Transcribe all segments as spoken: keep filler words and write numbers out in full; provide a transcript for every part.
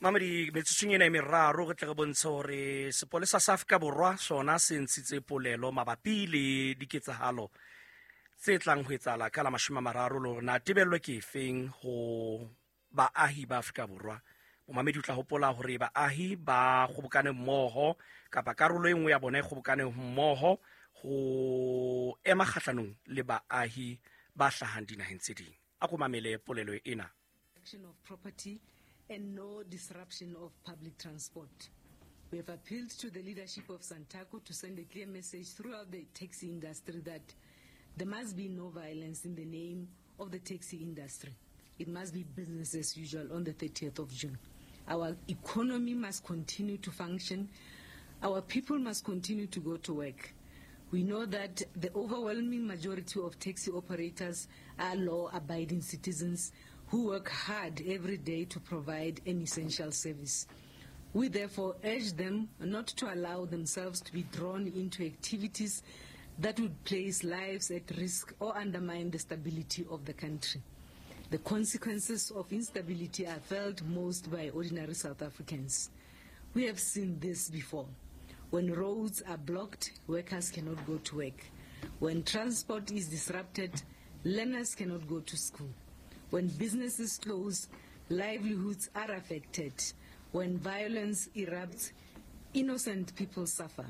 Mamedi metsotsong ena e meraro re tle re bontshe hore sepolesa sa Afrika Borwa sona se ntshitse polelo mabapi le diketsahalo tse tlang ho etsahala ka la mashome a mararo le hore na tebello ke efeng ho baahi ba Afrika Borwa. Momamedi o tla hopola hore baahi ba kgobokane mmoho kapa karolo e nngwe ya bona e kgobokane mmoho ho ema kgahlanong le baahi ba hlahang dinaheng tse ding. A ko mamele polelo ena. Of property and no disruption of public transport. We have appealed to the leadership of Santaco to send a clear message throughout the taxi industry that there must be no violence in the name of the taxi industry. It must be business as usual on the thirtieth of June. Our economy must continue to function. Our people must continue to go to work. We know that the overwhelming majority of taxi operators are law-abiding citizens who work hard every day to provide an essential service. We therefore urge them not to allow themselves to be drawn into activities that would place lives at risk or undermine the stability of the country. The consequences of instability are felt most by ordinary South Africans. We have seen this before. When roads are blocked, workers cannot go to work. When transport is disrupted, learners cannot go to school. When businesses close, livelihoods are affected. When violence erupts, innocent people suffer.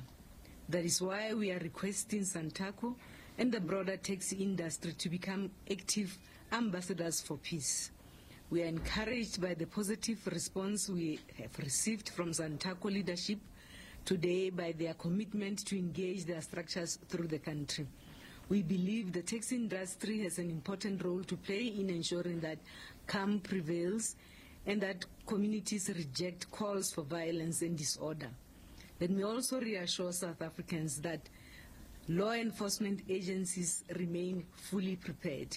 That is why we are requesting Santaco and the broader taxi industry to become active ambassadors for peace. We are encouraged by the positive response we have received from Santaco leadership today by their commitment to engage their structures through the country. We believe the taxi industry has an important role to play in ensuring that calm prevails and that communities reject calls for violence and disorder. Let me also reassure South Africans that law enforcement agencies remain fully prepared.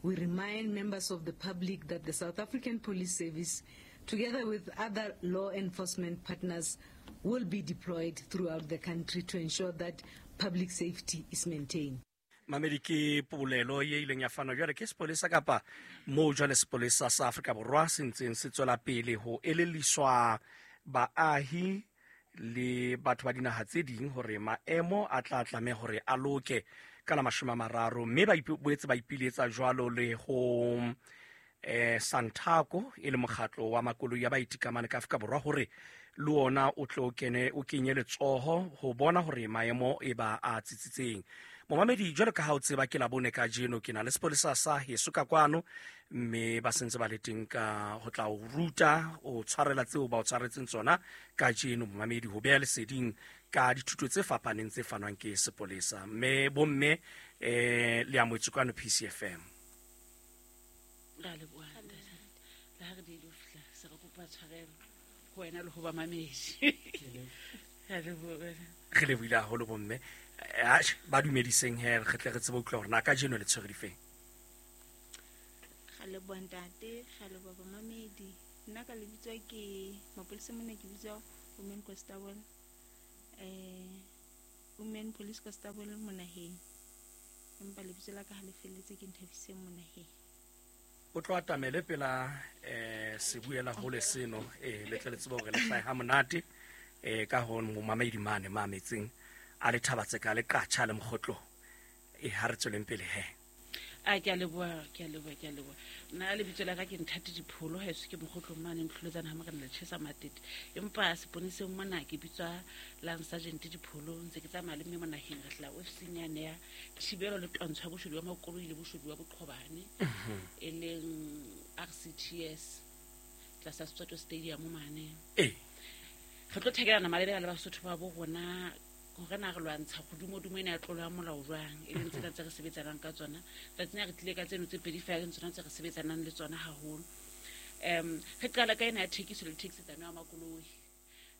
We remind members of the public that the South African Police Service, together with other law enforcement partners, will be deployed throughout the country to ensure that public safety is maintained. Mamedi ke polelo ye ileng ya fanwa jwale ke sepolesa kapa moo jwale sepolesa sa Afrika Borwa se ntseng se tswela pele ho elelliswa baahi le batho ba dinaha tse ding hore maemo a tla tlameha hore a loke ka la mashome a mararo, mme ba boetse ba ipiletsa jwalo le ho eh Santaco e le mokgatlo wa makoloi ya baitikamane ka Afrika Borwa hore le ona o tlo kene o kenye letsoho ho bona hore maemo e ba a tsitsitseng. Momamedi jwalo ka ha o tseba ke la bone ka jeno ke na le sepolesa sa heso ka kwano, mme ba sentse ba le teng ka ho tla o ruta o tshwarela tseo ba o tshwaretseng tsona ka jeno. Momamedi ho beha leseding ka dithuto tse fapaneng tse fanwang ke sepolesa. Mme bomme eh le amohetswe kwano P C F M. Ra leboha le ha re di lo fihla se re kopa tshwarelo ho wena le ho ba mamedi. Ra leboha. Re lebohile haholo bomme. Ba dumediseng he re tle re tsebe ho utlwa hore na ka jeno le tshwere difeng. Ra leboha ntate, ra leboha bamamedi. Nna ka lebitso ke mapolesa mona ke bitswa Women Constable, eh Women Police Constable Monaheng. Empa lebitso la ka ha le felletse ke Nthabiseng Monaheng. O tlo atamele pela eh sebuela hole seno eh le tle le tsebe hore le hlahe ha monate eh ka ho momamedi mane mametseng a le thabatse ka le qatjha le mokgotlo e ha re tsweleng pele he. A ke a leboha, ke a leboha, ke a leboha. Nna lebitso la ka ke Nthati Dipholo, haeso ke mokgotlo mane ntlholetsana ha morena le tjhesa matete. Empa seponeseng mona ke bitswa Lance Sergeant Dipholo, ntse ke tsamaya le mme monaheng re tla ofising yane ya thibelo le twantsho ya boshodu ba makoloi le boshodu ba boqhobane, e leng R C T S tlasa Soweto Stadium mane. Eh. Re tlo thekelana malebela le Basotho ba bo rona hore na re lwantsha kgodumodumo ena ya tlolo ya molao jwang, e leng tsena tse re sebetsanang ka tsona. Tsatsing re tlile ka tseno tse pedi feela, leng tsona tse re sebetsanang le tsona haholo. Um re qala ka ena ya thekiso le thekisetsano ya makoloi.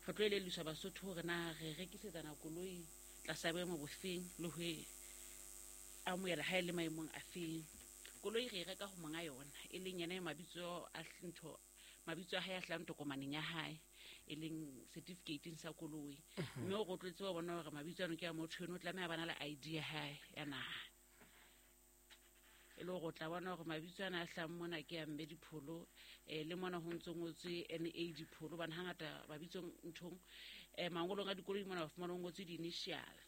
Re tlo elelliswa Basotho hore na re rekisetsana koloi tlasa boemo bofeng le ho e amohela ha e le maemong a feng. Koloi re e reka ho monga yona, e leng yena e mabitso a ntho mabitso a hae a hlahang tokomaneng ya hae, e leng certificate sa koloi. Mme o rotletse wa bona hore mabitso ano ke a motho eno, o tlameha bana le I D ya hae ya naha. E le hore o tla bona hore mabitso ana a hlahang mona ke a Mme Dipholo, eh, le mona ho ntso ngotswe N A Dipholo, hobane hangata mabitsong nthong, eh, mangolong a dikoloi mona ba fumana ho ngotswe di-initial.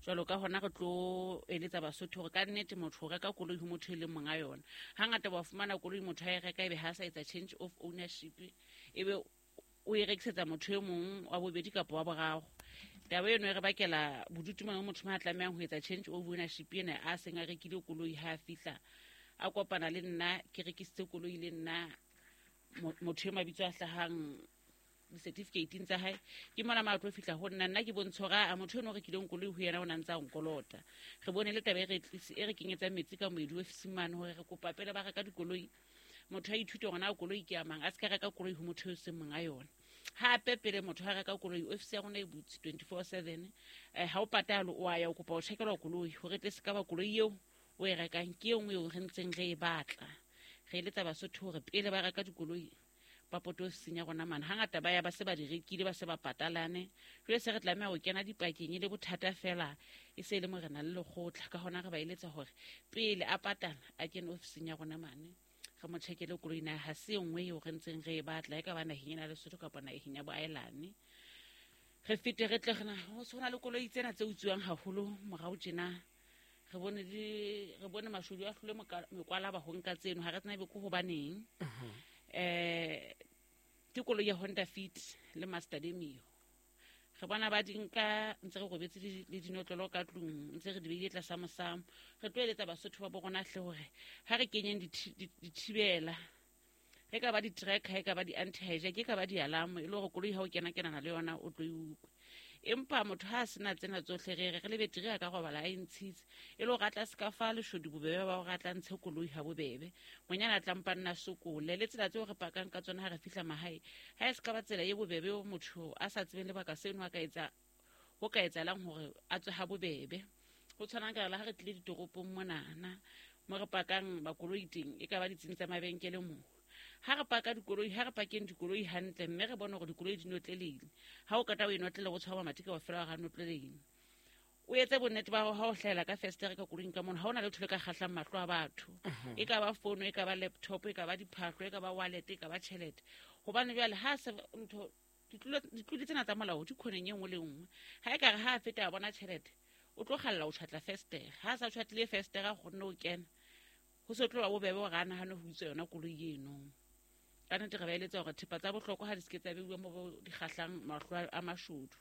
Jwalo ka hona re tlo eletsa Basotho hore ka nnete motho o reka koloi ho motho e leng monga yona. Hangata wa fumana koloi motho a e reka ebe ha sa etsa change of ownership, ebe o e rekisetsa motho e mong wa bobedi kapa wa boraro. Taba eno e re bakela bodutu mona motho a tlamehang ho etsa change of ownership ena a seng a rekile koloi ha a fihla a kopana le nna ke rekisitse koloi le nna motho e mabitso a hlahang di-certificate tsa hae ke mona ma tlo fihla ho nna nna ke bontsho hore a motho eno o rekileng koloi ho yena o na ntse a nkolota. Re bone le taba e re tlise e re kenyetsa metsi ka moedi ofising mane hore re kopa pele ba reka dikoloi motho a ithute hore na koloi ke ya mang, a se ka reka koloi ho motho eo seng monga yona. Hape pele motho a reka koloi ofisi ya rona e butse twenty-four seven, eh, ha o patale o a ya o kopa ho tjhekelwa koloi hore tle se ka ba koloi eo o e rekang ke e nngwe eo re ntseng re e batla. Re eletsa Basotho hore pele ba reka dikoloi ba pote ofising ya rona mane. Hangata ba ya ba se ba di rekile ba se ba patalane, jwale se re tlameha ho kena dipakeng e le bothata fela e se e le morena le lekgotla. Ka hona re ba eletsa hore pele a patala a kene ofising ya rona mane re mo tjhekele koloi na ha se e nngwe eo re ntseng re e batla, e ka ba naheng ena ya Lesotho kapa naheng ya boaelane. Re fete re tle re na ho tshwana le koloi tsena tse utsuwang haholo morao tjena. Re bone di re bone mashodu a hlole mekwalaba ho nka tseno, ha re tsena ebe ke hobaneng. Eh, ke koloi ya Honda Fit le Mazda Demio. Re bona ba di nka ntse re robetse le dinotlolo ka tlung, ntse re di beile tlasa mosamo. Re tlo eletsa Basotho ba bo rona hle hore ha re kenyeng dithibela, e ka ba di-tracker, e ka ba di-anti-hijack, e ka ba di-alarm, e le hore koloi ha o kena kenana le yona o tlo e utlwe. Empa motho ha a sena tsena tsohle re re re le beteri a ka robala a e ntshitse, e le hore a tla se ka fa leshodu bobebe ba hore a tla ntshe koloi ha bobebe. Ngwanyana a tla mpa nna sokole. Le tsela tseo re pakang ka tsona ha re fihla mahae, ha e se ka ba tsela e bobebe eo motho a sa tsebeng lebaka seno a ka etsa, ho ka etsahalang hore a tswe ha bobebe. Ho tshwanang ka le ha re tlile ditoropong monana mo re pakang makoloi teng, e ka ba ditsing tsa mabenkele moo. Ha re paka dikoloi, ha re pakeng dikoloi hantle mme re bone hore dikoloi di notlelehile. Ha o kata o e notlele o tshwara mamati kaofela ha notlelehile. O etse bonnete ba hao ha o hlahela ka festere ka koloing ka mona, ha ona letho le ka kgahlang mahlo a batho. E ka ba fono, e ka ba laptop, e ka ba diphahlo, e ka ba wallet, e ka ba tjhelete. Hobane jwale ha se ntho ditlolo tsena tsa molao di khoneng e nngwe le nngwe. Ha e ka re ha a feta a bona tjhelete, o tlo kgalla o tjhatla festere. Ha a sa tjhatlile festere a kgonne ho kena, ho se tlo ba bobebe hore a nahane ho utswa yona koloi eno. Ka nnete re ba eletsa hore thepa tsa bohlokwa ha di se ke tsa beuwa mo di kgahlang mahlo a mashodu.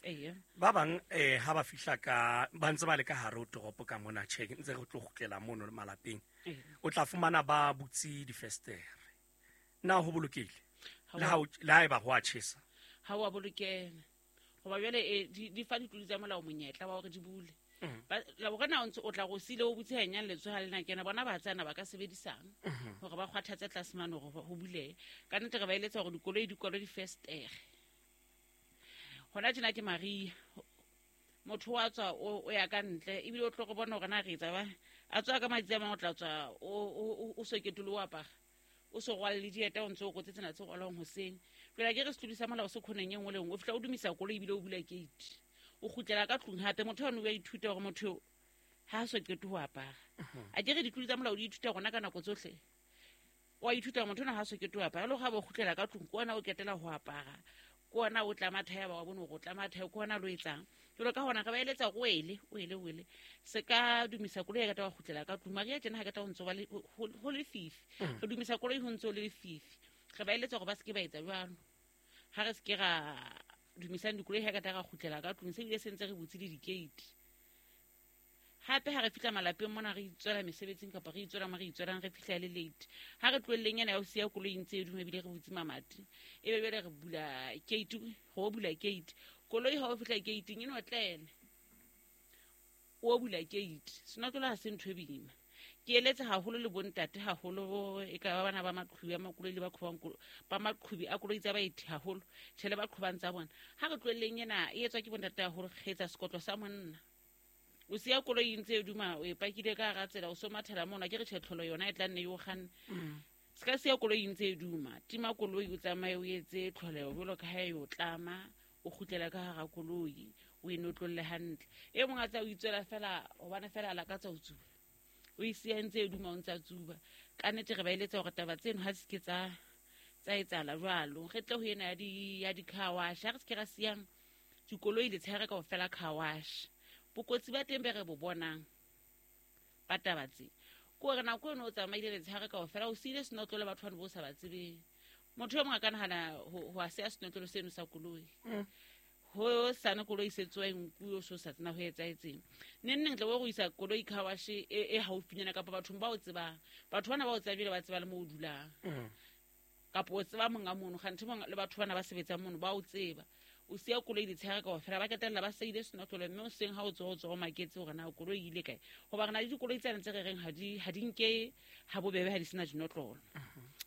Eya. Ba bang eh ha ba fihla ka ba ntse ba le ka hare ho toropo ka mona, tjhe ntse re tlo kgutlela mono malapeng, o tla fumana ba butse difestere. Na ho bolokehile? Le ha le ha eba ho a tjhesa? Ha ho a bolokeha. Hoba jwale e di fa ditloli tsa molao monyetla wa hore di bule. Ba la bona o ntse o tla go sile o butse hanyane letsoho le na kena bona ba tsana ba ka sebedisang hore ba kgwathatse tlase mane hore ho bulehe. Ka nnete re ba eletsa hore dikoloi di kwalwe difestere. Hona tjena ke Maria, motho wa tswa o ya ka ntle ebile o tlo go bona hore na re etsa ba a tswa ka matsi a mang, o tla tswa o o soketolo o apara o so rwale le dieta o ntse o kotse tsena tse rwalwang hoseng. Jwale ke re setlodi sa molao se khoneng e nngwe le nngwe, o fihla o dumisa koloi ebile o bula gate, o kgutlela ka tlung hape. Motho ono o a ithuta hore motho ha a so qete ho apara. A ke re ditlodi tsa molao di ithuta rona ka nako tsohle. O a ithuta motho ona ha so qete ho apara, le ha ba kgutlela ka tlung ke ona o ketela ho apara, ke ona o tlama thae ba wa bone hore o tlama thae, ke ona lo etsang. Jwalo ka hona re ba eletsa hore o ele, o ele, o ele. Se ka dumisa koloi ya ka wa kgutlela ka tlung. Maria tjena ha ka ta ho ntso ba le ho lefifi. Re dumisa koloi ho ntso le lefifi. Re ba eletsa hore ba se ke ba etsa jwalo. Ha re se ke ra dumisang dikoloi ha ka ta ra kgutlela ka tlung, se bile se ntse re butse le di-gate. Hape ha re fihla malapeng mona re itswela mesebetsing kapa re itswela mo re itswelang, re fihla le late. Ha re tlohelleng ena ya ho siya koloi ntse e duma ebile re butse mamati, ebe jwale re bula gate, ho bula gate. Koloi ha o fihla gate-ing e notlele, o bula gate. Senotlolo ha se ntho e boima. Ke eletsa haholo le bontate haholo, e ka ba bana ba maqhubi a makoloi le ba qhobang ba maqhubi a koloi tsa baeti haholo, tjhe le ba qhobang tsa bona. Ha re tlohelleng ena e etswa ke bontate haholo, re etsa sekotlo sa monna. O siya koloi ntse e duma, o e pakile ka hara tsela, o so mathela mona, ke re tjhe tlholo yona e tla nne e o kganne. Se ka siya koloi ntse e duma, tima koloi o tsamaye o etse tlholeho jwalo ka ha e o tlama, o kgutlela ka hara koloi, o e notlolle hantle. E mong a tsa o itswela fela hobane fela a lakatsa ho tsuba, o e siya ntse e duma o ntsa tsuba. Ka nnete re ba eletsa hore taba tseno ha se ke tsa tsa etsahala jwalo. Re tle ho ena ya di ya di-car wash, ha re se ke ra siyang dikoloi letshehare kaofela car wash. Bokotsi ba teng be re bo bonang ba taba tse ke hore nako eno o tsamaile letshehare kaofela o siile senotlolo batho bano bo sa ba tsebeng. Motho e mong a ka nahana ho ho a siya senotlolo seno sa koloi, ho sane koloi se tswa nku o so sa tsena ho etsahetseng. Neng neng tla bo go isa koloi car wash e e haufinyana kapa bathong ba o tsebang. Batho bana ba o tsebile ba tseba le mo o dulang, kapa o tseba monga mono kganthe monga le batho bana ba sebetsang mono ba o tseba. O siya koloi letshehare kaofela ba ketella ba seile senotlolo, mme o seng ha o tswa o tswa o maketse hore na koloi e ile kae. Hoba re na le dikoloi tsane tse re reng ha di ha di nke ha bobebe ha di sena dinotlolo.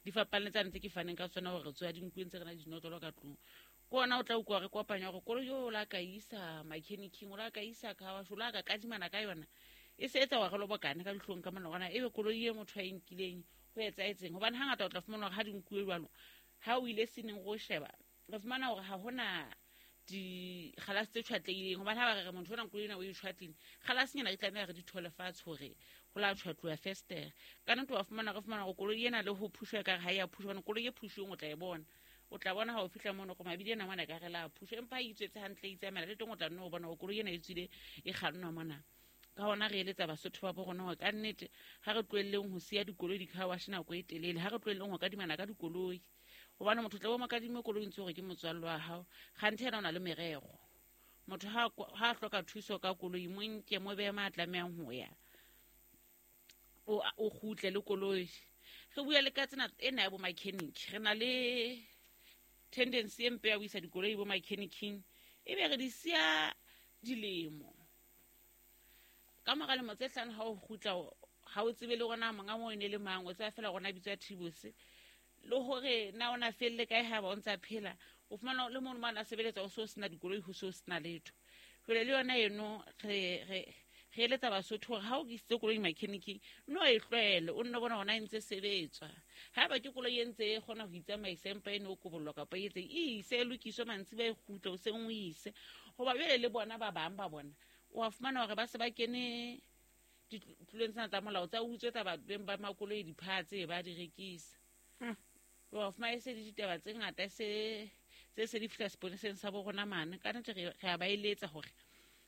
Di fapane tsane tse ke faneng ka tsona hore re tswa dinkueng tse re na le dinotlolo ka tlung. Ke ona o tla utlwa re kopanya hore koloi eo o la ka isa mechanic-ing, o la ka isa car wash, o la ka kadimana ka yona. E se etsa hore re lobokane ka dihlong ka mona hore na ebe koloi e motho a e nkileng ho etsahetseng. Hobane hangata o tla fumana hore ha di nkuwe jwalo, ha o ile seneng go sheba, re fumana hore ha hona dikgalase tse tjhwatlehileng. Hobane ha ba re re motho ona koloi ena o e tjhwatlile, kgalasenyana di tlameha re di thole fatshe hore ho la tjhwatluwa festere. Ka nnete wa fumana re fumana hore koloi ena le ho phushwa ekare ha e a phushwa, hobane koloi e phushuweng o tla e bona. O tla bona ha o fihla mono hore mabidi ena mona ekare la phushwa, empa ha e itswetse hantle e itsamaela le teng o tla nno o bona hore koloi ena e tswile e kgannwa mona. Ka hona re eletsa Basotho ba bo rona hore ka nnete ha re tlohelleng ho siya dikoloi di-car wash nako e telele, ha re tlohelleng ho kadimana ka dikoloi. Hobane motho tla bo mo kadime koloi ntse hore ke motswalle wa hao, kganthe yena o na le merero. Motho ha ha hloka thuso ka koloi, mo nke mo behe ma tlamehang ho ya, o o kgutle le koloi. Re bua le ka tsena ena ya bo mechanic, re na le tendency e mpe ya ho isa dikoloi bo mechanic-ing, ebe re di siya dilemo. Ka mora lemo tse hlano ha o kgutla ha o tsebe le hore na monga moo e ne le mang, o tseba fela hore na bitswa Thibose. Le hore na ona felle kae ha ba o ntsa phela, o fumana le mono mane a sebeletsa o so sena dikoloi, ho so sena letho. Jwale le yona eno re re re eletsa Basotho hore ha o isitse koloi mechanic-ing, no e tlwaele, o nno bona hore na e ntse sebetswa. Haeba ke koloi e ntse e kgona ho itsamaisa empa e ne o kobollwa kapa e etseng, e ise e lokiswe mantsibuya e kgutle hoseng o ise. Hoba jwale le bona ba bang ba bona o a fumana hore ba se ba kene ditlolong tsena tsa molao tsa ho utswetsa beng ba makoloi diphatse ba di rekisa. Wa fumana e se le ditaba tse ngata se tse se di fihla seponeseng sa bo rona mane. Ka nnete re re a ba eletsa hore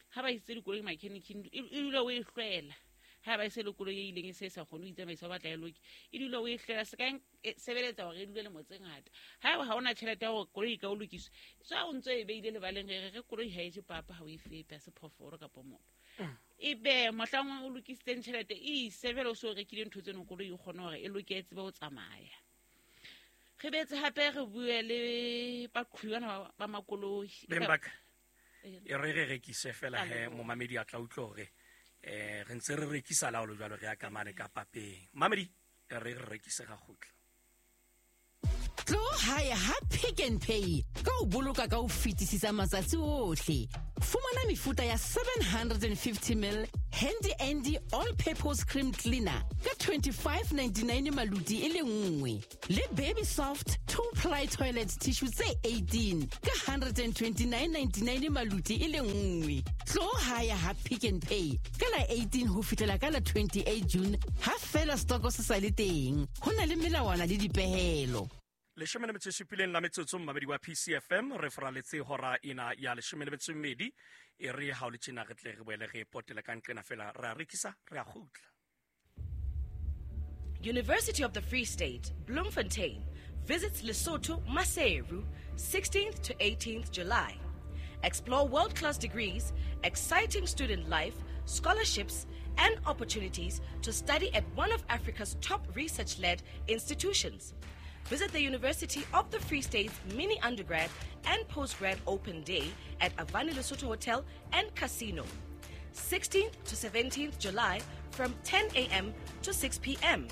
ha ba isitse dikoloi mechanic-ing, e dule o e hlwela. Ha ba ise le koloi e ileng e se sa kgone ho itsamaisa, o batla e loke, e dule o e hlwela. Se ka sebeletsa hore e dule lemo tse ngata. Haeba ha ona tjhelete ya hore koloi e ka o lokiswa, tswa o ntso e beile lebaleng, re re koloi ha e je papa, ha o e fepe, ha se phoofolo kapa motho. Ebe mohlang o lokisitseng tjhelete, e ise jwale o so rekile ntho tseno, koloi e kgone hore e loke e tsebe ho tsamaya. Re betse hape re bue le baqhubi bana ba makoloi. Beng ba ka, e re re rekise fela he momamedi a tla utlwa hore eh re ntse re rekisa laolo jwalo re ya ka mane ka papeng. Mamedi e re re rekise ga kgutla. Tlo hae ha Pick n Pay ka o boloka ka ho fetisisa matsatsi ohle. Fumana mefuta ya seven hundred and fifty mil Handy Andy All Purpose Cream Cleaner ka twenty-five ninety-nine maluti e le nngwe, le Baby Soft two ply toilet tissue tse eighteen ka hundred and twenty-nine ninety-nine maluti e le nngwe. Tlo hae ha Pick n Pay ka la eighteen ho fihlela ka la twenty-eight June ha fela stoko se sa le teng. Ho na le melawana le dipehelo. Leshome le metso e supileng la metsotso mmamedi wa P C F M re foraletse hora ena ya leshome le metso e mmedi. E re ha o le tjena re tle re boele re potele ka nqena fela re a rekisa re a kgutla. University of the Free State, Bloemfontein, visits Lesotho Maseru, sixteenth to eighteenth July. Explore world-class degrees, exciting student life, scholarships, and opportunities to study at one of Africa's top research-led institutions. Visit the University of the Free State's mini undergrad and postgrad open day at Avani Lesotho Hotel and Casino, sixteenth to seventeenth July from ten A M to six P M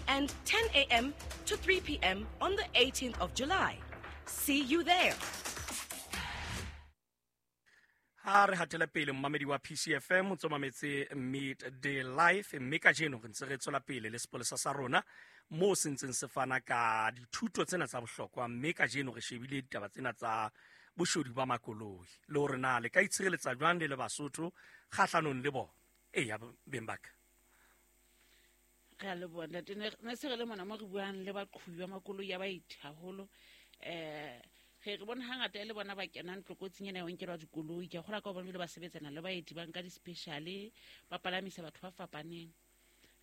and ten A M to three P M on the eighteenth of July. See you there. Ha re hatela pele mmamedi wa P C F M o tsomametse Midday Life, mme kajeno re ntse re tswela pele le sepolesa sa rona moo se ntseng se fana ka dithuto tsena tsa bohlokwa, mme kajeno re shebile ditaba tsena tsa boshodu ba makoloi le hore na le ka itshireletsa jwang le le Basotho kgahlanong le bona. Eya beng ba ka. Re a leboha ntate. Ne se re le mona mo re buang le baqhobi ba makoloi ya baeti haholo. Eh re re bona hangata e le bona ba kenang tlokotsing ena ya ho nkelwa dikoloi. Ke a kgolwa ka hobane jwale ba sebetsana le baeti, ba nka di-special, ba palamisa batho ba fapaneng.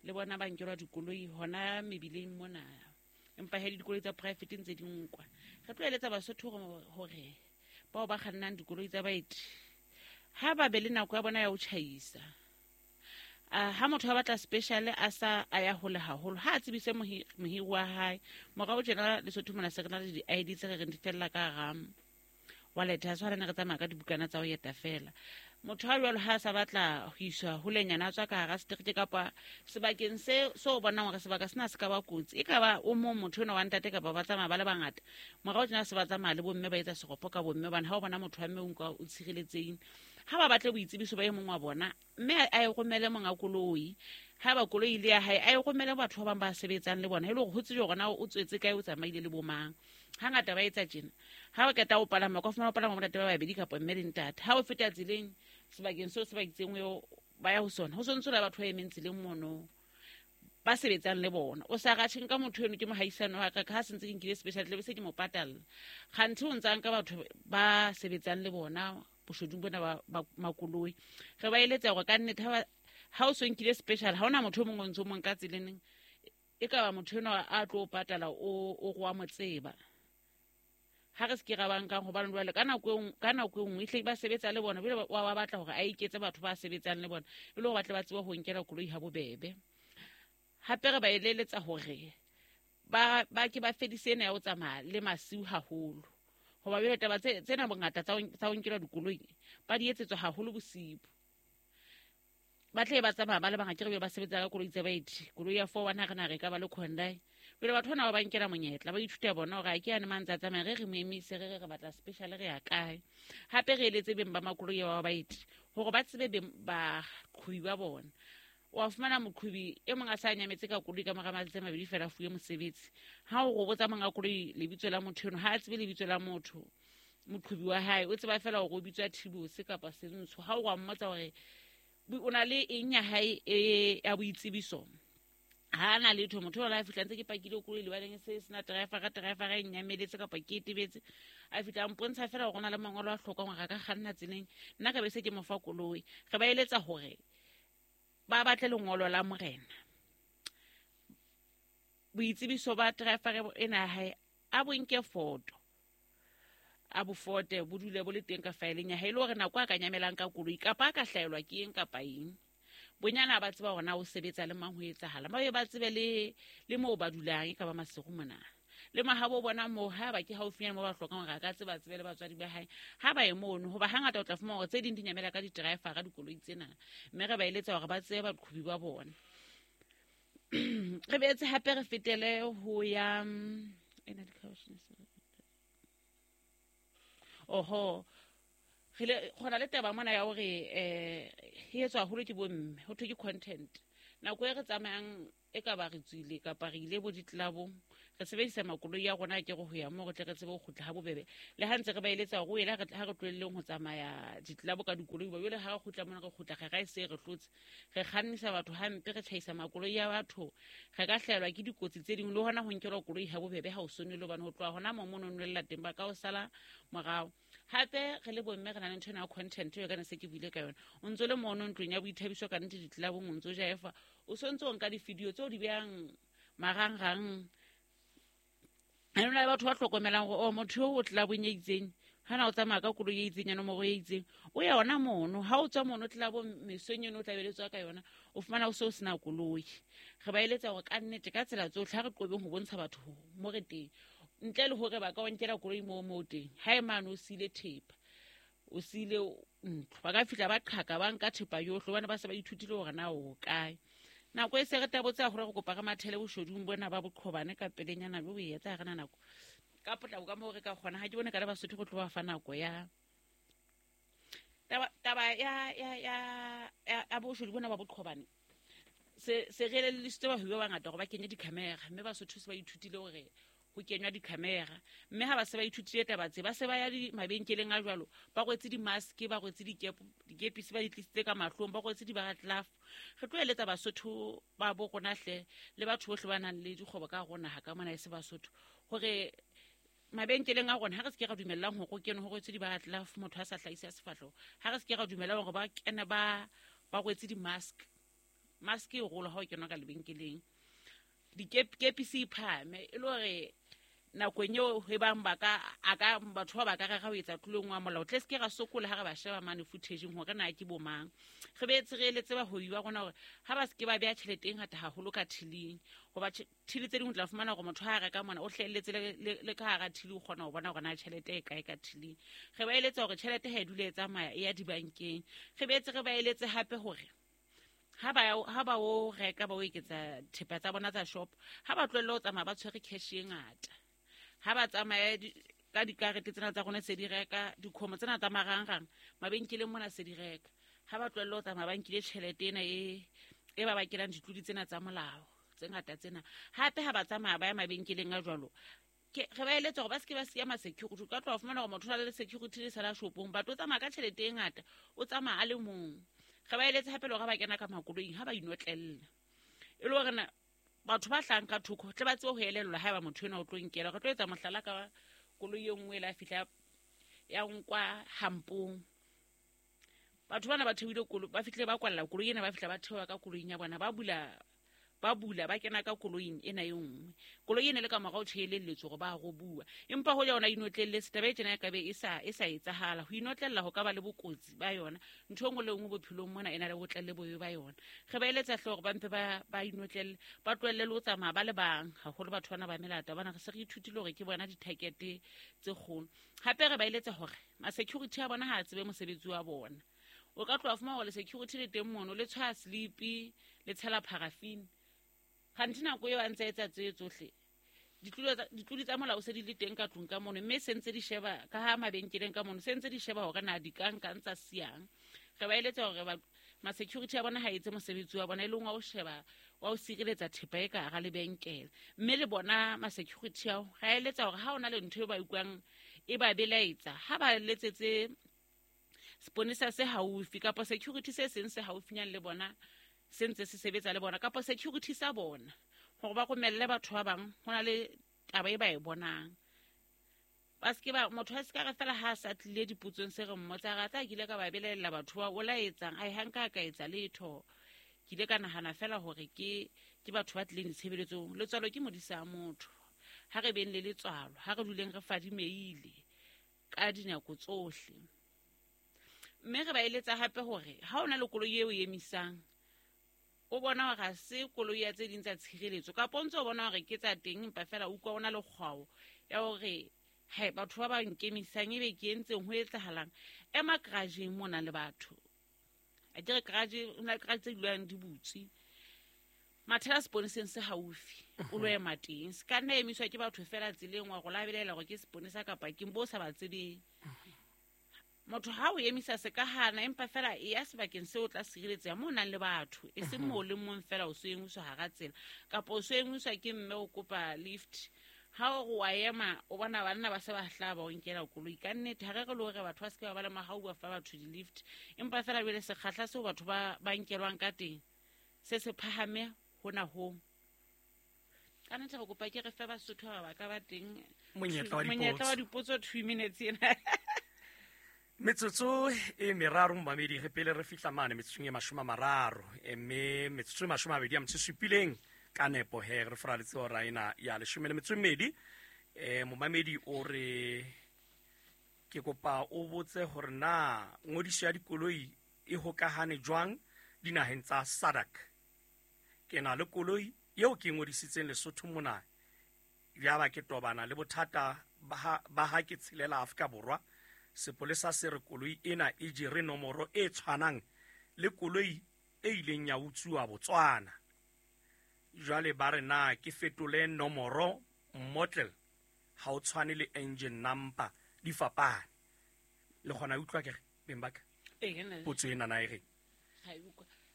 Le bona ba nkelwa dikoloi hona mebileng mona. Empa he le dikoloi tsa private ntse di nkwa. Re tlo eletsa Basotho hore bao ba kgannang dikoloi tsa baeti ha ba be le nako ya bona ya ho tjhaisa. Uh, ha motho a batla special a sa a ya hole haholo, ha a tsebise mohiri wa hae. Morao tjena Lesotho mona se re na le di-I D tse re reng di fella ka hara wallet, ha se re tsamaya ka dibukana tsa ho eta fela. Motho ha jwalo ha a sa batla ho iswa holenyana, a tswa ka hara setereke kapa sebakeng se so o bonang hore sebaka sena se ka ba kotsi, e ka ba o mong motho enwa wa ntate kapa ba tsamaya ba le bangata. Morao tjena se ba tsamaya le bomme, ba etsa seropo ka bomme, hobane ha o bona motho wa mme o nka o tshireletsehile. Ha ba batle boitsebiso ba e mong wa bona, mme a e romele monga koloi. Ha ba koloi le ya hae, a e romele batho ba bang ba sebetsang le bona, e le hore ho tsejwe hore na o tswetse kae, o tsamaile le bomang. Hangata ba etsa tjena, ha ba qeta ho palama, ka fumana o palama bontate ba babedi kapa mme le ntate. Ha o feta tseleng sebakeng seo se ba itseng eo ba ya ho sona, ho sontso le batho ba emeng tseleng mono ba sebetsang le bona. O sa ratjheng ka motho eno ke mohaisano wa ka, ka ha se ntse ke nkile special tle be se ke mo patalla. Kganthe o ntsa nka batho ba sebetsang le bona boshodung bona ba, ba makoloi. Re ba eletsa hore ka nnete ha ha o so nkile special, ha hona motho o mong o ntso mong ka tseleng, e ka ba motho enwa a tlo patala o o go wa mo tseba. Ha re se ke ra ba nkang hobane jwale ka nako ka nako e nngwe ehlile ba sebetsa le bona, jwale wa batla hore a iketse batho ba sebetsang le bona, e le hore ba tle ba tsebe ho nkela koloi ha bobebe. Hape re ba eleletsa hore ba ba ke ba fedise ena ya ho tsamaya le masiu haholo. Hoba jwale taba tse tsena bongata tsa ho nkelwa dikoloi ba di etsetswa haholo bosibu. Ba tle ba tsamaya ba le bangata, ke re ba sebetsa ka koloi tsa baeti. Koloi ya four one ha re na re ka ba le Hyundai. Jwale batho bana ba ba nkela monyetla, ba ithuta bona hore a ke yane mang tsa tsamaya, re re mo emise, re re re batla special, re ya kae. Hape re eletse beng ba makoloi ba baeti hore ba tsebe beng baqhobi ba bona. Wa fumana moqhobi e mong a sa nyametse ka koloi ka mora matsatsi a mabedi fela a fuwe mosebetsi. Ha o robotsa monga koloi lebitso la motho eno, ha a tsebe lebitso la motho moqhobi wa hae, o tseba fela hore o bitswa Thibose kapa Sentsho. Ha o wa mmotsa hore o na le eng ya hae e ya boitsebiso, ha na letho. Motho o la fihla ntse ke pakile koloi lebaleng se sena driver, ka driver e nyameletse kapa ke etebetse, a fihla a mpontsha fela hore o na le mangolo a hlokang hore a ka kganna tseleng, nna ka be se ke mo fa koloi. Re ba eletsa hore ba batle lengolo la morena, boitsebiso ba driver ena ya hae, a bo nke foto, a bo fote, bo dule bo le teng ka faeleng ya hae, e le hore nako a ka nyamelang ka koloi kapa a ka hlaelwa ke eng kapa eng, bonyana ba tseba hore na o sebetsa le mang, ho etsahala. Ba be ba tsebe le le moo ba dulang, e ka ba Maseru mona. Le mahabo bona moo, ha ba ke haufinyana moo ba hlokang hore a ka tseba tsebe le batswadi ba hae, ha ba ye mono. Hoba hangata o tla fumana hore tse ding di nyamela ka di-driver ka dikoloi tsena, mme re ba eletsa hore ba tsebe baqhobi ba bona. Re boetse hape re fetele ho ya ena di-caution. Oho, re le gona le taba mona ya hore eh e etswa haholo ke bomme, ho thwe ke content. Nako e re tsamayang e ka ba re tswile kapa re ile bo ditlelabong, re sebedisa makoloi ya rona ke re ho ya moo re tle re tsebe ho kgutla ha bobebe. Le ha ntse re ba eletsa hore o ela ha re tlohelleng ho tsamaya ditlelabo ka dikoloi, ba jwale ha re kgutla mona re kgutla re ra e se re hlotse, re kgannisa batho hampe, re tjhaisa makoloi ya batho, re ka hlahelwa ke dikotsi tse ding le hona ho nkelwa koloi ha bobebe ha o sonele, hobane ho tloha hona moo mono nwella teng ba ka o sala morao. Hape re le bomme re na le ntho ena ya content eo ka ne se ke buile ka yona. O ntso le mono ntlong ya boithabiso ka nnete ditlelabong, o ntso jaefa, o sontso o nka di-video tseo di behang marangrang. Ha hona le batho ba hlokomelang hore oh motho eo o tlelabong e itseng, hana o tsamaya ka koloi e itseng ya nomoro e itseng, o ya hona mono. Ha o tswa mono tlelabong mesong eno o tla be le tswa ka yona, o fumana o se o sena koloi. Re ba eletsa hore ka nnete ka tsela tsohle ha re qobeng ho bontsha batho mo re teng, ntle le hore ba ka o nkela koloi moo moo teng. Ha e mane o siile thepa, o siile ntlo, ba ka fihla ba qhaka ba nka thepa yohle, hobane ba se ba ithutile hore na o kae. Nako e se re tabotse hore re kopa re mathele boshodung bona ba boqhobane ka pelenyana bo etsa ha re na nako. Ka potlako ka moo re ka kgona, ha ke bone ka le Basotho go tloha fa nako ya taba taba ya ya ya ya boshodu bona ba boqhobane. Se se re elellisitse bahwebi ba bangata hore ba kenye di-camera, mme Basotho se ba ithutile hore ho kenywa di-camera. Mme ha ba se ba ithutile taba tse, ba se ba ya mabenkeleng a jwalo, ba rwetse di-mask, ba rwetse dikepisi, ba di tlisitse ka mahlong, ba rwetse di-baratlaf. Re tlo eletsa Basotho ba bo rona hle le batho bohle ba nang le dikgwebo ka hare ho naha ka mona e se Basotho, hore mabenkeleng a rona ha re se ke ra dumellang hore ho kenwe ho rwetse di-baratlaf, motho a sa hlahise sefahleho. Ha re se ke ra dumellang hore ba kene ba ba rwetse di-mask. Mask e rolo ha o kenwa ka lebenkeleng. Dikepisi e phahame e le hore nakong eo e bang ba ka a ka batho ba ba ka rera ho etsa tlolong wa molao, tle se ke ra sokola ha re ba sheba mane footage hore na ke bo mang. Re beetse re eletse bahwebi ba rona hore ha ba se ke ba beha tjhelete e ngata haholo ka thiling, hoba thili tse ding o tla fumana hore motho ha a reka mona o hlahelletse le le ka hara thili, o kgona ho bona hore na tjhelete e kae ka thiling. Re ba eletsa hore tjhelete ha e dule e tsamaya e ya dibankeng. Re beetse re ba eletse hape hore ha ba ha ba o reka ba o eketsa thepa tsa bona tsa shop, ha ba tlohelle ho tsamaya ba tshwere cash e ngata. Ha ba tsamaya ka dikarete tsena tsa rona se di reka, dikhomo tsena tsa marangrang mabenkeleng mona se di reka. Ha ba tlohelle ho tsamaya ba nkile tjhelete ena e e ba bakelang ditlodi tsena tsa molao tse ngata tsena. Hape ha ba tsamaya ba ya mabenkeleng a jwalo, ke re ba eletsa hore ba se ke ba siya ma-security. O ka tloha fumana hore motho o na le security le sala shopong, batho o tsamaya ka tjhelete e ngata, o tsamaya a le mong. Re ba eletse hape le hore ba kena ka makoloing ha ba inotlella, e le hore na batho ba hlang ka thoko tle ba tsebe ho elellwa haeba motho enwa o tlo nkela. Re tlo etsa mohlala ka koloi e nngwe e la fihla ya nkwa hampong. Batho bana ba theohile koloi, ba fihlile ba kwalla koloi ena, ba fihla ba theoha ka koloing ya bona, ba bula ba bula ba kena ka koloing ena e nngwe. Koloi ena le ka morao tjhelelletswe hore ba robuwa, empa ho yona inotlelletse taba e tjena e ka be e sa e sa etsahala. Ho inotlella ho ka ba le bokotsi ba yona. Ntho e nngwe le nngwe bophelong mona e na le botle le bobe ba yona. Re ba eletsa hle hore ba mpe ba ba inotlelle, ba tlohelle le ho tsamaya ba le bang, haholo batho bana ba melata bana. Re se re ithutile hore ke bona di-target tse kgolo. Hape re ba eletsa hore ma-security a bona ha a tsebe mosebetsi wa bona. O ka tloha fumana hore le security le teng mono, le tshwaya sleepy, le tshela paraffin. Kganthi nako eo a ntse a etsa tseo tsohle, ditlodi tsa molao se di le teng ka tlung ka mono, mme se ntse di sheba ka ha mabenkeleng ka mono, se ntse di sheba hore na di ka nkang tsa siyang. Re ba eletsa hore ma-security a bona ha etse mosebetsi wa bona, e leng wa ho sheba wa ho sireletsa thepa e ka hara lebenkele. Mme le bona ma-security ao ra eletsa hore ha ho na le ntho e ba utlwang e ba belaetsa, ha ba letsetse seponesa se haufi kapa security se seng se haufinyane le bona, se ntse se sebetsa le bona kapa security sa bona, hore ba romelle batho ba bang ho na le taba e ba e bonang. Ba se ke ba motho a se ka re fela ha a sa tlile dipotsong se re mmotsa, ra tla ke ile ka ba belaella batho ba o la etsang, ai ha nka ka etsa letho. Ke ile ka nahana fela hore ke ke batho ba tlileng ditshebeletsong. Letswalo ke modisa motho. Ha re beng le letswalo, ha re duleng re fadimeile ka dinako tsohle. Mme re ba eletsa hape hore ha o na le koloi eo e emisang, o bona hore ha se koloi ya tse ding tsa tshireletso, kapa o ntso o bona hore ke tsa teng, empa fela o utlwa o na le kgwao ya hore hai batho ba ba nkemisang ebe ke entseng ho etsahalang. Ema garage-eng mona le batho. A kere garage, ho na le garage tse dulang di butswe. Mathela seponeseng se haufi, o lo ema teng. Se ka nna emiswa ke batho fela tseleng wa go labelela hore ke seponesa kapa ke bo sa ba tsebeng. Motho ha o emisa se ka hana, empa fela e ya sebakeng seo o tla sireletseha moo o nang le batho, e seng moo o le mong fela o so emiswa hara tsela, kapa o so emiswa ke mme o kopa lift. Ha o re wa ema, o bona banna ba se ba hlaha ba o nkela koloi. Ka nnete ha re re le hore batho ba se ke ba ba le mahau ba fa batho di-lift, empa fela jwale sekgahla seo batho ba ba nkelwang ka teng se se phahame hona hong. Ka nnete re kopa ke re fe Basotho ba ba ka ba teng monyetla wa dipotso two minutes ena. Metsotso e meraro momamedi re pele re fihla mane metsotsong e mashome a mararo, mme metsotso e mashome a mabedi a metso e supileng ka nepo he re foraletse hora ena ya leshome le metso e mmedi. Eh momamedi o re ke kopa o botse hore na ngodiso ya dikoloi e hokahane jwang dinaheng tsa S A D C. Ke na le koloi eo ke ngodisitseng Lesotho mona, yaba ke tobana le bothata ba ha ke tshelela Afrika Borwa. Sepolesa se re koloi ena e jere nomoro e tshwanang le koloi e ileng ya utsuwa Botswana. Jwale ba re na ke fetole nomoro model ha o tshwane le engine number di fapane. Le kgona ho utlwa ke re beng ba ka? Potso ena na e reng?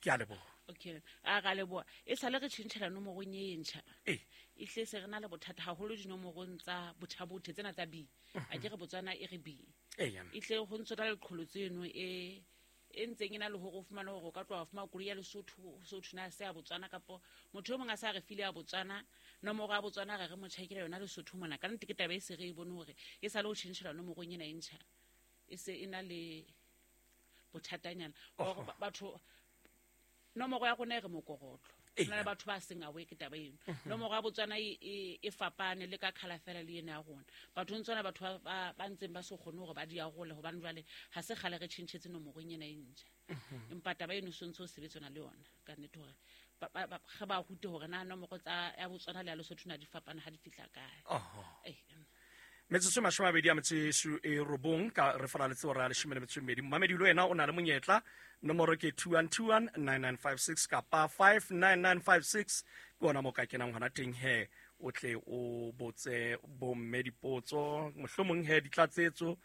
Ke a leboha. Okay, a ga leboa e sale re tšhentšhela nomorong e ntšha ee e hle se re na le bothata haholo dinomorong tsa bothabothe tsena tsa B a ke re Botswana e re B ee e hle go ntse ra leqholo tseno e e ntseng e na le hore o fumane hore o ka tloha fumana koloi ya Lesotho Sotho na se ya Botswana kapo motho o mongwe a sa re file ya Botswana nomoro ya Botswana re re mo tjhakela yona Lesotho mona ka nnete ke taba e se re e bone hore e sale ho tjhentjhela nomorong ena e ntjha e se e na le bothatanyana hore batho nomoro ya rona e re mokorotlo Ee. na le batho ba seng aware ke taba eno nomoro ya Botswana e, e, e fapane le ka khala fela le ena ya rona batho ntsona batho ba- ba ba ntseng ba se kgone hore ba di arole hobane jwale ha se kgale re tjhentjhetse nomorong ena e ntjha empa taba eno so ntse o sebetsana le yona ka nnete hore ba- ba- ba- re ba rute hore na nomoro tsa ya Botswana le ya Lesotho na di fapana ha di fihla kae oho Eh, metsotso e mashome a mabedi a metso e su- e robong ka re falaletse hora ya leshome le metso e mmedi momamedi le wena o na le monyetla nomoro ke two one two one nine nine five six kapa five nine nine five six ke ona mo ka kenang hona teng he o tle o botse bomme dipotso mohlomong he ditlatsetso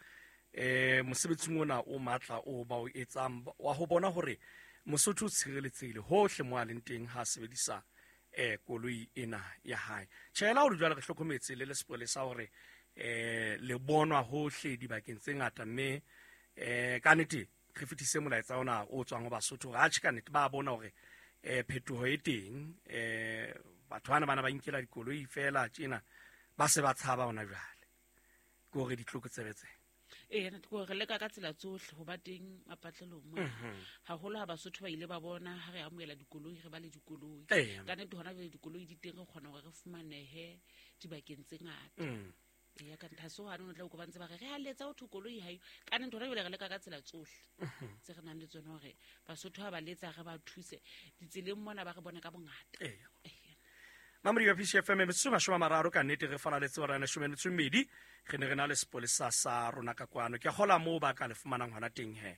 eh mosebetsing ona o matla o ba o etsang wa ho bona hore Mosotho o tshireletsehile hohle mo a leng teng ha a sebedisa eh koloi ena ya hae tjhela hore jwale re hlokometse le le sepolesa hore eh le bonwa hohle dibakeng tse ngata mme eh ka nnete re fetise molaetsa ona o tswang ho Basotho hore atjhe ka nnete ba bona hore eh phetoho e teng eh batho bana bana ba inkela dikoloi fela tjena ba se ba tshaba hona jwale ke hore ditlokotsebe tse ee ke hore re leka ka tsela tsohle ho ba teng mapatlelong mona haholo ha Basotho ba ile ba bona ha re amohela dikoloi re ba le dikoloi Ee. ka nnete hona jwale dikoloi di teng re kgona hore re fumanehe dibakeng tse ngata Mm. eya ka nnete ha se hwane o tla utlwa ba ntse ba re re a letsa ho thwe koloi ha eyo ka nnete hona jwale re leka ka tsela tsohle tse re nang le tsona hore Basotho ha ba letsa re ba thuse ditseleng mona ba re bone ka bongata Ee. Mamodi wa P C F M metsotso e mashome a mararo ka nnete re falaletse hora ya leshome le metso e mmedi re ne re na le sepolesa sa rona ka kwano ke a kgola moo ba ka le fumanang hona teng he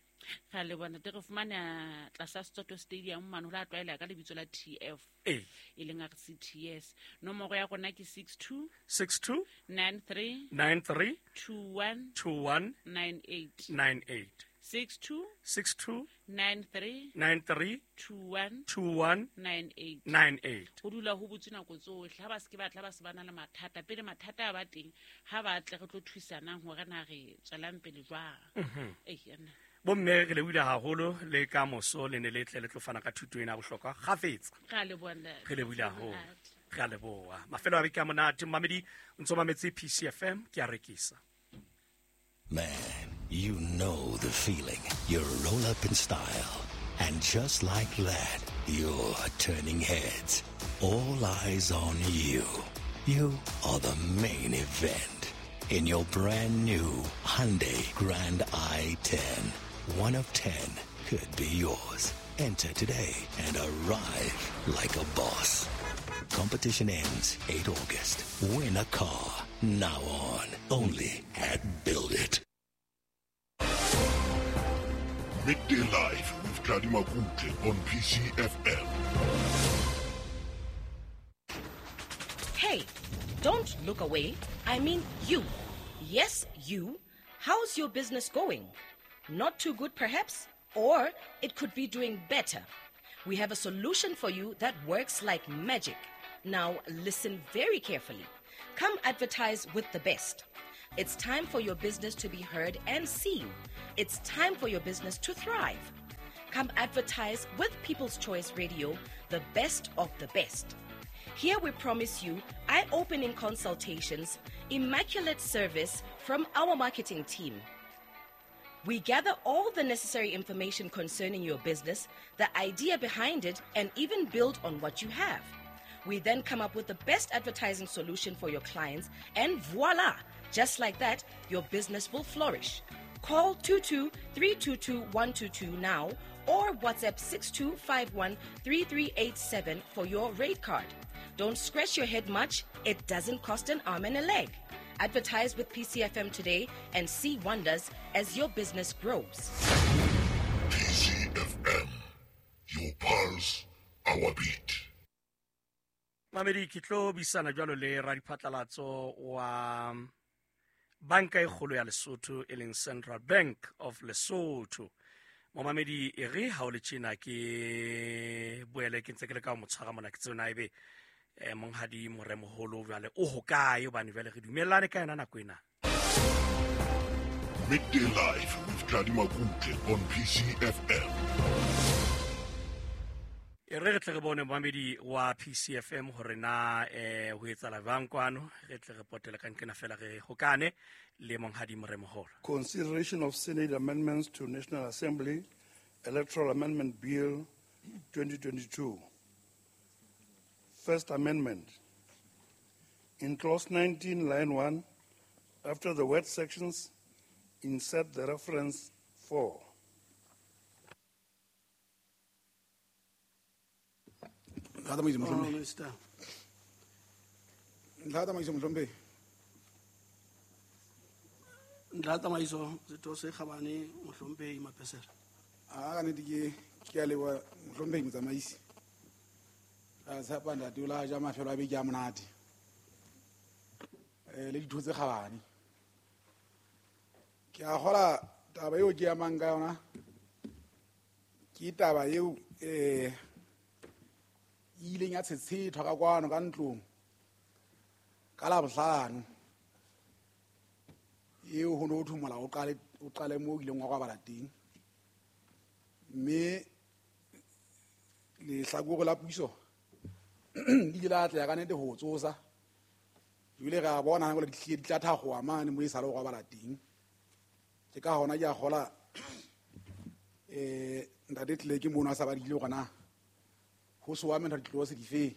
ra leboha ntate re fumana tlasa Setsoto Stadium mane ho la tlwaeleha ka lebitso la T F ee e leng R C T S nomoro ya rona ke six two six two nine three nine three two one two one nine eight nine eight six two six two nine three nine three two one two one nine eight nine eight ho dula ho butswe nako tsohle ha ba se ke ba tla ba se ba na le mathata pele mathata a ba teng ha ba tle re tlo thusanang hore na re tswelang pele jwang Ee, nna. bomme re lebohile haholo le ka moso le ne le tle le tlo fana ka thuto ena ya bohlokwa kgafetsa Re a leboha ntate. re lebohile haholo re a leboha mafelo a beke a monate momamedi o ntso mametse P C F M ke a rekisa Man, you know the feeling. You roll up in style. And just like that, you're turning heads. All eyes on you. You are the main event. In your brand new Hyundai Grand i ten. One of ten could be yours. Enter today and arrive like a boss. Competition ends eighth August. Win a car. Now on. Only at Build It. Midday Live with Tladi Makutle on P C F M. Hey, don't look away. I mean you. Yes, you. How's your business going? Not too good, perhaps? Or it could be doing better. We have a solution for you that works like magic. Now, listen very carefully. Come advertise with the best. It's time for your business to be heard and seen. It's time for your business to thrive. Come advertise with People's Choice Radio, the best of the best. Here we promise you eye-opening consultations, immaculate service from our marketing team. We gather all the necessary information concerning your business, the idea behind it, and even build on what you have. We then come up with the best advertising solution for your clients, and voila! Just like that, your business will flourish. Call two two three two two one two two now or WhatsApp six two five one three three eight seven for your rate card. Don't scratch your head much. It doesn't cost an arm and a leg. Advertise with P C F M today and see wonders as your business grows. P C F M, your pulse, our beat. Mamedi, ke tlo buisana jwalo le radiphatlalatso wa banka e kgolo ya Lesotho e leng Central Bank of Lesotho. Momamedi e re ha o le tjena ke boele ke ntse ke le ka ho mo tshwara mona ke tsona ebe eh monghadi Moremoholo jwale o hokae hobane jwale re dumellane ka yona nako ena. Midday Live with Tladi Makutle on P C F M. E re re tle re bone momamedi wa P C F M hore na eh ho etsahala jwang kwano, re tle re potele ka nkena fela re hokane le monghadi Moremoholo. Consideration of Senate amendments to National Assembly Electoral Amendment Bill twenty twenty-two. First Amendment. In clause nineteen, line one, after the word sections, insert the reference four. Ntlha tsamaiso setho se kgabane mohlomphehi Mapesela. A ka nnete ke ke a leboha mohlomphehi motsamaisi. Ra tshepa ntate o la ja mafelo a beke a monate. Eh le ditho tse kgabane. Ke a kgola taba eo ke amang ka yona. Ke taba eo eh e ileng ya tshetshethwa ka kwano ka ntlong ka Labohlano. Eo ho no thwe molao o qale o qale moo o ileng wa kwabala teng. Mme lehlakore la puso le ile la atleha ka nnete ho tsosa. Ebile re a bona hore di hlile di tla thakgoha mane moo e sale ho kwabala teng. Ke ka hona ke a kgola eh ntate tlile ke mono a sa badile hore na ho so wa mentho di tlo se di fe.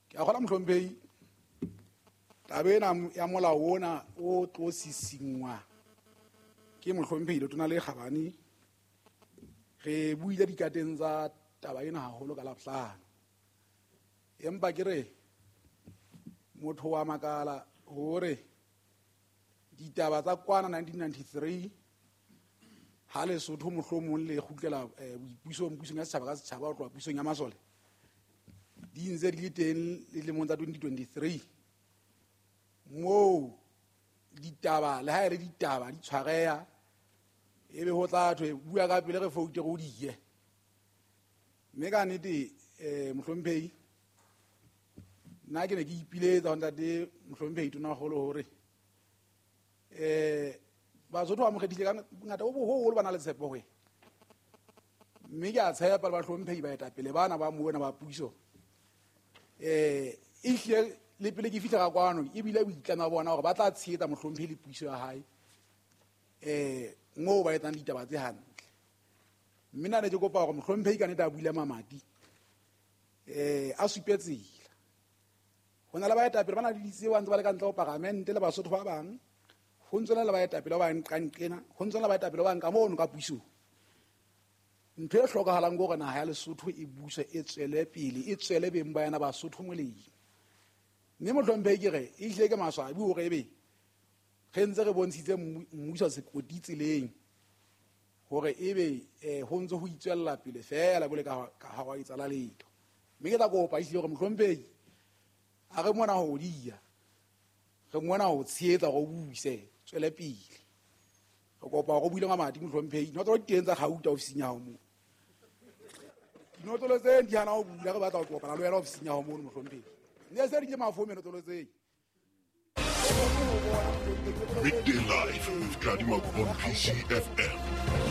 Ke a kgola mohlomphehi taba ena ya molao ona o tlo sisingwa ke mohlomphehi Letona le Kgabane. Re buile dikateng tsa taba ena haholo ka Labohlano. Empa ke re motho wa makala hore ditaba tsa kwana nineteen ninety-three ha Lesotho mohlomong le kgutlela boipusong pusong ya setjhaba ka setjhaba ho tloha pusong ya masole di ntse di le teng dilemong tsa twenty twenty-three moo ditaba le ha e le ditaba di tshwareha ebe ho tla thwe bua ka pele re foute re o diye. Mme ka nnete eh mohlomphehi nna ke ne ke ipiletsa ho ntate mohlomphehi Tonakgolo hore eh Basotho ba mokgethile ka bongata bo boholo ba na le tshepo ho yena. Mme ke a tshepa le bahlomphehi baetapele bana ba mona ba puso eh e hlile le pele ke fihla ka kwano ebile boitlamo ba bona hore ba tla tshehetsa mohlomphehi le puso ya hae eh moo ba etsang ditaba tse hantle. Mme nna ne ke kopa hore mohlomphehi ka nnete a buile mamati eh a supe tsela. Ho na le baetapele ba na le ditsebo ba ntse ba le ka ntle ho paramente le Basotho ba bang. Ho ntse le baetapele ba bang nqanqena, ho ntse le baetapele ba bang ka mono ka pusong. Ntho e hlokahalang ke hore naha ya Lesotho e buswe e tswele pele, e tswele beng ba yona Basotho molemo. Mme mohlomphehi ke re e hlile ke maswabi hore ebe re ntse re bontshitse mmuso sekoti tseleng hore ebe eh ho ntse ho itswella pele fela bole ka ka ha wa etsala letho. Mme ke tla kopa ehlile hore mohlomphehi a re mona ho diya, re mona ho tshehetsa hore o buse tswele pele. Re kopa hore o buile mamati mohlomphehi. Dinotlolo di teng tsa kgauta ofising ya hao moo. Dinotlolo tse di hana ho bula, re batla ho kopana le wena ofising ya hao mono mohlomphehi. Ne se di ke mafo menotlolo tse. Midday Live with Tladi Makutle on P C F M.